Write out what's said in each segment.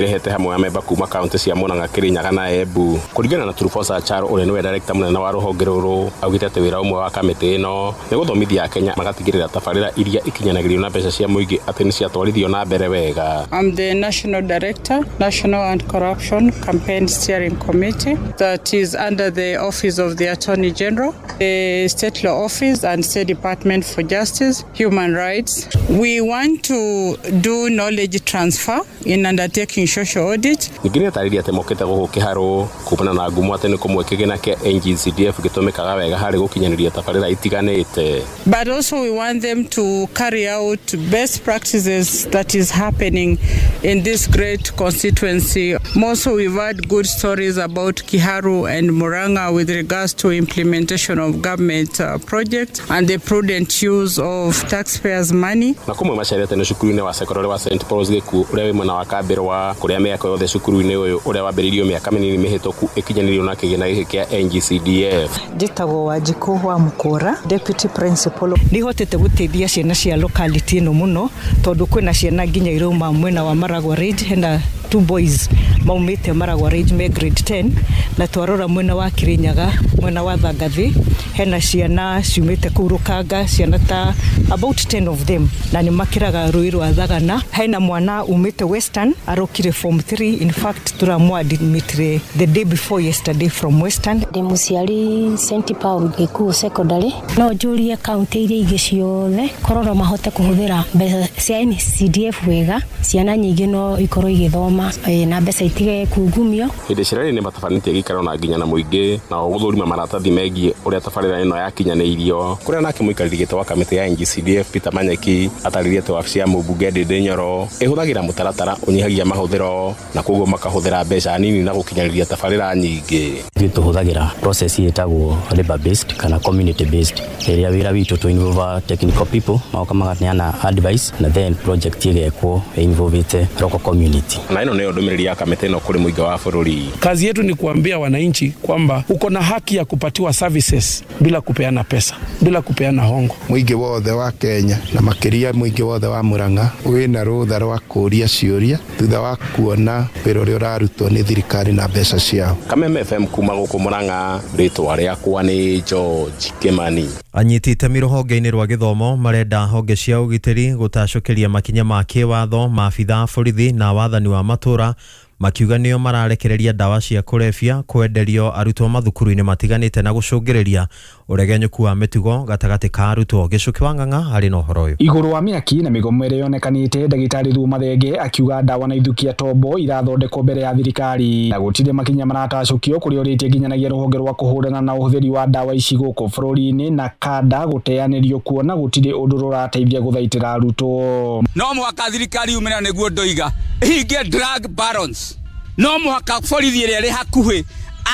Ĩrehete hamwe amemba kuma kaunti cia Murang'a, Kirinyaga na Embu. Kũringana na Trufosa Charo, ũrĩa nĩwe director mũnene wa rũhonge rũrũ, augĩte atĩ wĩra ũmwe wa kamĩtĩ ĩno nĩ gũthomithia Akenya magatigĩrĩra tabarĩra iria ikinyanagĩrio na mbeca cia mũingĩ atĩ nĩ ciatwarithio na mbere wega. I'm the National Director, National Anti-Corruption Campaign Steering Committee, that is under the Office of the Attorney General, the State Law Office and State Department for Justice, Human Rights. We want to do knowledge transfer in undertaking social audit. Ningĩ nĩatarĩria atĩ mokĩte gũkũ Kĩharũ kumana na ngumo atĩ nĩ kũmwe kĩgĩna kĩa NGCDF gĩtũmĩkaga wega harĩ gũkinyanĩria tabarĩra itiganĩte. But also we want them to carry out best practices that is happening in this great constituency. Also, we've heard good stories about Kiharu and Murang'a with regards to implementation of government projects and the prudent use of taxpayers' money. Na kũmwe macerete nĩ cukuru-inĩ wa sekondarĩ wa St Paul's Gĩkuũ ũrĩa wĩ mwena wa Kambĩrwa, kũrĩa mĩako yothe cukuru-inĩ ũyũ ũrĩa wambĩrĩirio mĩaka mĩnini mĩhĩtũku ĩkinyanĩirio na kĩgĩna gĩkĩ kĩa NGCDF. Njĩtagwo Wanjikũ wa Mũkũra, deputy principal. Nĩhotete gũteithia ciana cia locality ĩno mũno, tondũ kwĩna ciana nginya irauma mwena wa Maragwa Ridge, hena two boys maumĩte Maragwa Ridge me grade 10, na twarora mwena wa Kirinyaga, mwena wa Thangathi, hena ciana ciumĩte kũu Rũkanga, ciana ta about 10 of them, na nĩ makĩraga rũĩ rwa Thagana. Hena mwana umĩte Western arokire form 3, in fact tũramũ-admitire the day before yesterday from Western. Ndĩ mũciari St Paul Gĩkuũ Secondary, no njũrie kaunti iria ingĩ ciothe korwo no mahote kũhũthĩra mbeca cia NCDF wega, ciana nyingĩ no ikorwo igĩthoma na mbeca itige kungumio. Hĩndĩ cia nĩ matabanĩtie gĩikaro na nginya na mũingĩ na gũthũrima maratathi megiĩ ũrĩa tabarĩra ĩno yakinyanĩirio, kũrĩa nake mũikarĩri gĩtĩ wa kamĩtĩ ya NGCDF Peter Manyeki atarĩrie atĩ wabici ya mũmbunge Ndindi Nyoro ĩhũthagĩra mũtaratara ũnyihagia mahũthĩro na koguo makahũthĩra mbeca nini na gũkinyanĩria tabarĩra nyingĩ. Ithuĩ tũhũthagĩra process ĩtagwo labor based kana community based, ĩrĩa wĩra witũ tũ involve technical people magoka maganeana advice na then project ĩgekwo involvete local community. Na ĩno nĩyo ndũmĩrĩri ya kamĩtĩ ĩno kũrĩ mũingĩ wa bũrũri. Kazi yetu ni kuambia wananchi kwamba uko na haki ya kupatiwa services bila kupeana pesa, bila kupeana hongo. Mũingĩ wothe wa Kenya na makĩria mũingĩ wothe wa Murang'a wĩna rũtha rwa kũũria ciũria thutha wa kuona wĩra ũrĩa ũrarutwo nĩ thirikari na mbeca ciao. Kameme FM kuma gũkũ Murang'a, rĩtwa rĩakwa nĩ George Kimani. Anyiti itemi rũhonge-inĩ rwa gĩthomo marenda honge cia ũgitĩri gũtacũkĩria makinya ma kĩwatho maabitha a borithi na wathani wa matũra, makiuga nĩo mararekereria ndawa cia kũrebia kwenderio arutwo mathukuru-inĩ matiganĩte na gũcũngĩrĩria ũregenyũku wa mĩtugo gatagatĩ ka arutwo. Gĩcũkĩ wa Ng'ang'a arĩ na ũhoro ũyũ. Igũrũ wa mĩaki na mĩgomo ĩrĩa yonekanĩte, ndagĩtarĩ Thuo Mathenge akiuga ndawa na ithukia tombo irathondekwo mbere ya thirikari na gũtirĩ makinya maratacũkio kũrĩa ũrĩtie nginyanagia rũhonge rwa kũhũrana na ũhũthĩri wa ndawa ici gũkũ bũrũri-inĩ na kanda gũteanĩrio kuona gũtirĩ ũndũ rũrateithia gũthaitĩra arutwo. No mũhaka thirikari yumĩre nĩguo ndoiga ĩhingie drug barons, no mũhaka borithi ĩrĩa ĩrĩ hakuhĩ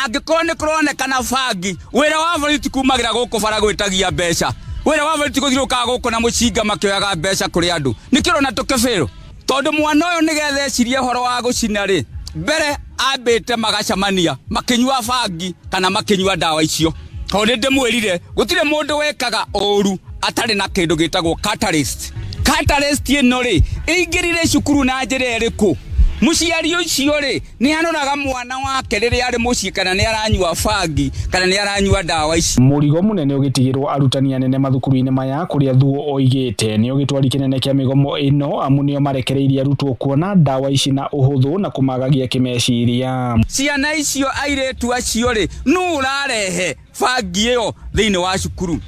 angĩkorwo nĩ kũronekana bangi, wĩra wa borithi ti kumagĩra gũkũ bara gwĩtagia mbeca, wĩra wa borithi gũthiũrũrũkaga gũkũ na mũcinga makĩoyaga mbeca kũrĩ andũ. Nĩkĩo ũrona tũkĩbĩrwo, tondũ mwana ũyũ nĩgetha ecirie ũhoro wa gũcina rĩ, mbere ambĩte magacemania makĩnyua bangi kana makĩnyua ndawa icio. Tondũ nĩ ndĩmwĩrire gũtirĩ mũndũ wekaga ũru atarĩ na kĩndũ gĩtagwo catalyst. Catalyst ĩno rĩ ĩingĩrire cukuru na njĩra ĩrĩkũ? Mũciari ũcio rĩ nĩ aroraga mwana wake rĩrĩa arĩ mũciĩ kana nĩ aranyua bangi kana nĩ aranyua ndawa ici. Mũrigo mũnene ũgĩtigĩrwo arutani anene mathukuru-inĩ maya kũrĩa Thuo oigĩte nĩ ũgĩtwari kĩnene kĩa mĩgomo ĩno, amu nĩo marekereirie arutwo kuona ndawa ici na ũhũthũ na kũmagagia kĩmeciria. Ciana icio airĩtu acio rĩ nũ ũrarehe bangi ĩyo thĩinĩ wa cukuru?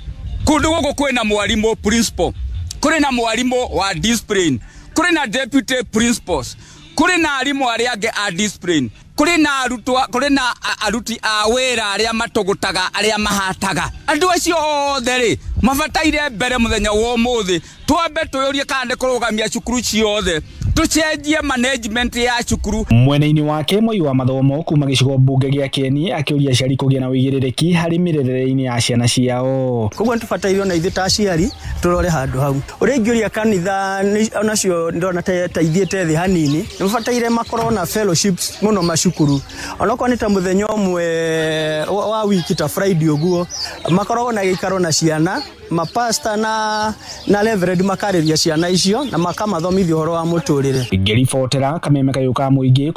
Kũndũ gũkũ kwĩna mwarimũ principal, kũrĩ na mwarimũ wa discipline, kũrĩ na deputy principals, kũrĩ na arimũ arĩa angĩ a discipline, kũrĩ na arutwo, kũrĩ na aruti a wĩra arĩa matũgũtaga, arĩa mahataga. Andũ acio othe rĩ mabataire mbere mũthenya wa ũmũthĩ twambe twĩyũrie kana nĩ kũrũgamia cukuru ciothe, tũcenjie management ya cukuru. Mwena-inĩ wake Moi wa mathomo kuma gĩcigo mbunge gĩa Kieni akĩũria aciari kũgĩa na ũigĩrĩrĩki harĩ mĩrerere-inĩ ya ciana ciao. Koguo nĩ tũbataire ona ithuĩ ta aciari tũrore handũ hau. Ũrĩa ingĩũria kanitha onacio ndĩrona ta ithiĩte thĩ hanini, nĩ mabataire makorwo na fellowships mũno macukuru, onokorwo nĩ ta mũthenya ũmwe wa wiki ta Friday ũguo, makoragwo na gĩikaro na ciana Mapasta na reverend makarĩria ciana icio na makamathomithia ũhoro wa mũtũrĩre. Ngĩribotera kameme kayũ ka mũingĩ.